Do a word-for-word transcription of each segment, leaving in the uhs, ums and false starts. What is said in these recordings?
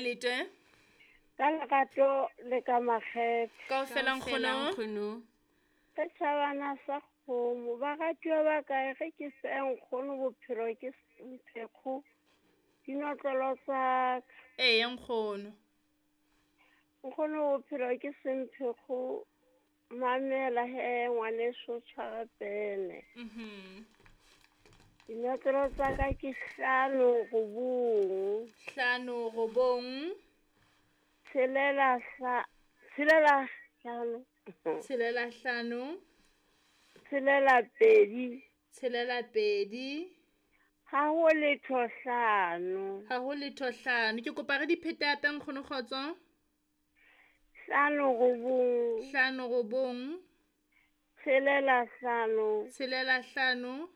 kae lete? Ka lerato le ka makgethe. Kaofela nkgono. Nkgono. Setjhabana sa kgomo, baratuwa ba kae ge ke se nkgono bophelo ke mphekgo dinotlolo tsa ka. Eya nkgono. Nkgono bophelo ke semphekgo mamela he ngwaneso tshwara pene. Mhm. Dinotlolo tsa ka ke hlano robong. Hlano robong. Tshelela hla, tshelela hlano. Tshelela hlano. Tshelela pedi. Tshelela pedi. Ha ho letho hlano. Ha ho letho hlano. Ke kopa re di phete hape nkgono kgotso. Hlano robong. Hlano robong. Tshelela hlano. Tshelela hlano.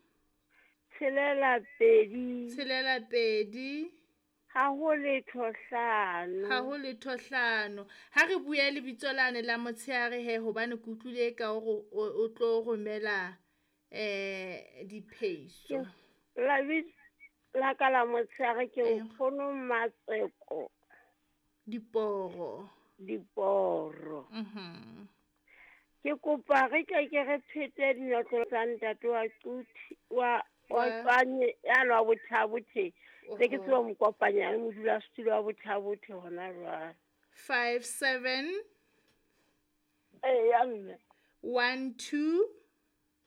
Tshelela pedi. Tshelela pedi. Ha ho letho hlano. Ha ho letho hlano. Ha re bue lebitso lane la motshehare he hobane ke utlwile ka hore o tlo romela eh diphehiso. La la ka la motshehare ke nkgono Matseko. Diporo. Diporo. Mhm. Ke kopa re ke ke re phete dinotlolo tsa ntate wa Quthi wa wa Tswanye ya lwa Bothabothe. Se ke tseba mo kopanya le modulasetulo wa Bothabothe hona jwale. five seven Eya mme. one two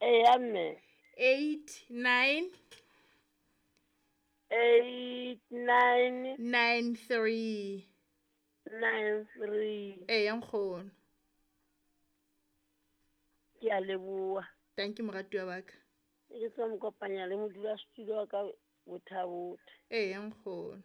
Eya mme. eight nine eight nine nine three nine three. Eya nkgono. Ke a leboha. Thank you moratuwa wa ka. Ke tseba mo kopanya le modulasetulo wa ka Bothabothe. Eya nkgono.